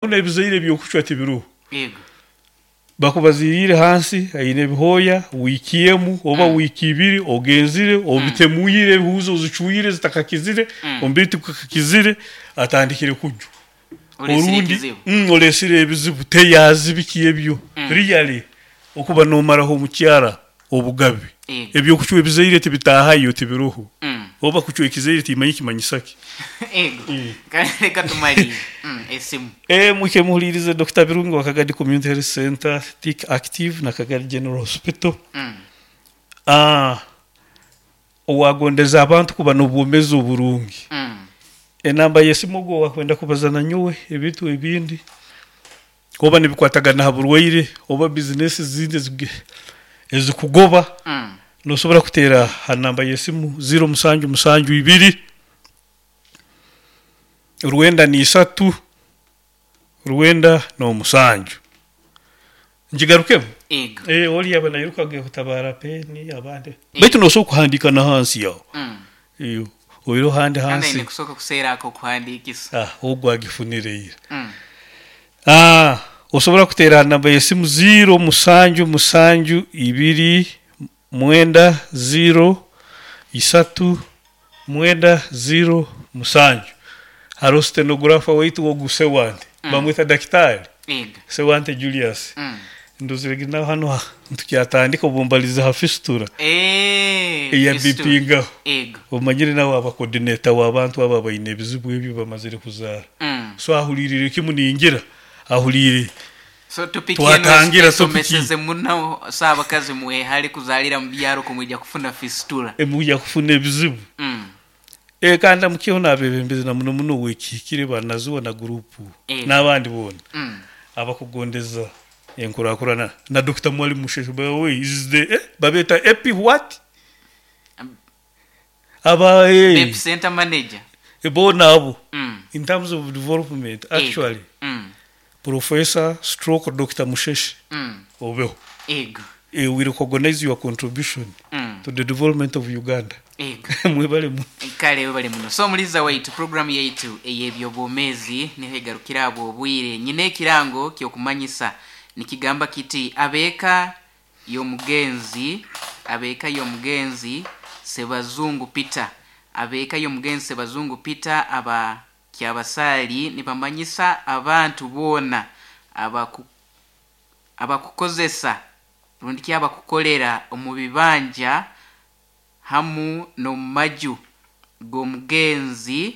Ebizaire ebyokucwa tibiroho. Yego. Bakubaziriire hansi aine ebihooya wiiki emu oba wiiki ibiri ogenzire obitemuire ehuuzi ozicwire zitakakizire, omubiri tigukakizire atandikire kujwa. Olesire Orundi ekizibu. Olesire ebizibu teyazi biki ebyo. Really okuba nomaraho omukyara obugabe. Yego. Ebyokucwa ebizaire tibitaahayo tibiroho. Oba kucwa ekizaire timanya kimanyisa ki. Ego. Kale reka tumalire. Esimu. Mwike muhulirize Dokita Birungi wa Kagadi Community Health Center, Tick Active na Kagadi General Hospital. Owagondeza abantu kuba n'obwomezi oburungi. Enamba y'esimu ogu owakwenda kubaza nanyowe ebintu ebindi oba nibikwatagana ha burwaire oba bizinesi ezindi ezikugoba, nosobora kuteera ha namba y'esimu ziro musanju musanju ibiri, 93, 97. Ngigarukemu? Ego. Oli yaba nairuka agenda kutabaara peeni abandi. Baitu nosobora kuhandiika na hansi aho. Oihireho ahandi Kandi hansi. aine kusooka kuseera ak'okuhandiikisa. Ogu agifunire ira. Osobora kuteera ha namba y'esimu ziiro musanju musanju ibiri mwenda ziiro isatu mwenda ziiro musanju. Haroho stenographer waitu ogu Sewante, bamweta dakitaali Ego. Sewante Julius. Ndozire nawe hanu nitukyatandika obu mbalize ha fistula eya Fistula. bipingaho. Ego. Omanyire nawe aba coordinator w'abantu abo abaine ebizibu ebyo bamazire kuzaara. So ahuliirire kimu ningira ahuliire. So topic enu Twatangira topic. esomeseze muno, so abakazi mwehale kuzaalira mu byaro kumwija kufuna fistula. Mwija kufuna ebizibu. Kandi amukiho n'abebembezi na muno muno ow'ekihikire ba Nazuwa na guruupu n'abandi boona abakugondeza enkurakurana na Dokita Mwalimu Musheshe by the way is the babeeta Epi what? Aba Epi center manager. Boona abo in terms of development actually Professor stroke Dokita Musheshe obeho. Ego. We recognize your contribution to the development of Uganda. Ego. Mwebale muno. Kale webale muno. So omuliza waitu programu yaitu ey'ebyobwomeezi niho egarukira abwo obwire. Nyina ekirango ky'okumanyisa nikigamba kiti abeeka y'omugenzi, abeeka y'omugenzi Sebazungu Peter, abeeka y'omugenzi Sebazungu Peter aba Kyabasaali nibamanyisa abantu boona abakukozesa rundi ki abakukolera omu bibanja hamu n'omu maju g'omugenzi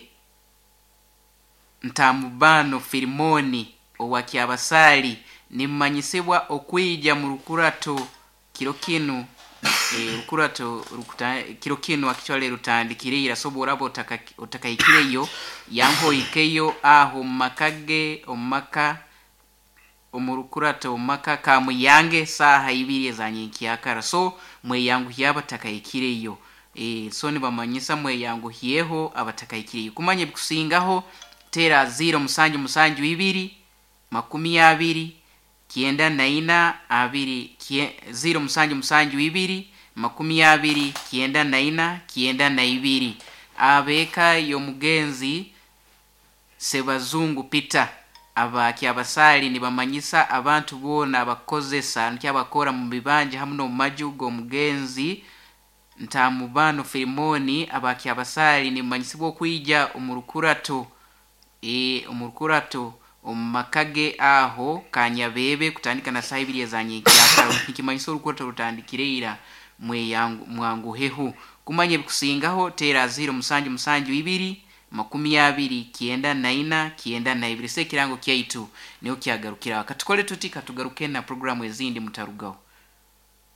Ntamubano Filimoni owa Kyabasaali nimumanyisibwa okwija mu rukurato kiro kinu, rukurato kiro kinu actually rutandikire ira, so bworaba otakahikireyo yanka ohikeyo aho omu maka ge, omu maka, omu rukurato omu maka Kamuyange saaha ibiri eza nyenkyakara. So mweyanguhye abatakahikireyo. So nibamanyisa mweyanguhyeho abatakahikireyo. Kumanya ebikusingaho teera 0 musanju musanju ibiri makumi abiri kyenda na ina abiri 0 musanju musanju ibiri makumi abiri kyenda na ina kyenda na ibiri. Abeeka y'omugenzi Sebazungu Peter aba Kyabasaali nibamanyisa abantu boona abakukozesa nikyo abakora mu bibanja hamu n'omu maju g'omugenzi Ntamubano Filimoni aba Kyabasaali nibamanyisibwa okwija omu rukurato, omu rukurato omu maka ge aho Kanyabeebe kutandika na saaha ibiri eza nyenkyakara. Nikimanyisa orukurato rutandikire ira mwanguheho. Kumanya ebikusingaho teera 0 musanju musanju ibiri makumi abiri kyenda na ina kyenda na ibiri. So ekirango kyaitu niho kyagarukiraho. Katukole tuti katugaruke na programu ezindi mutarugaho.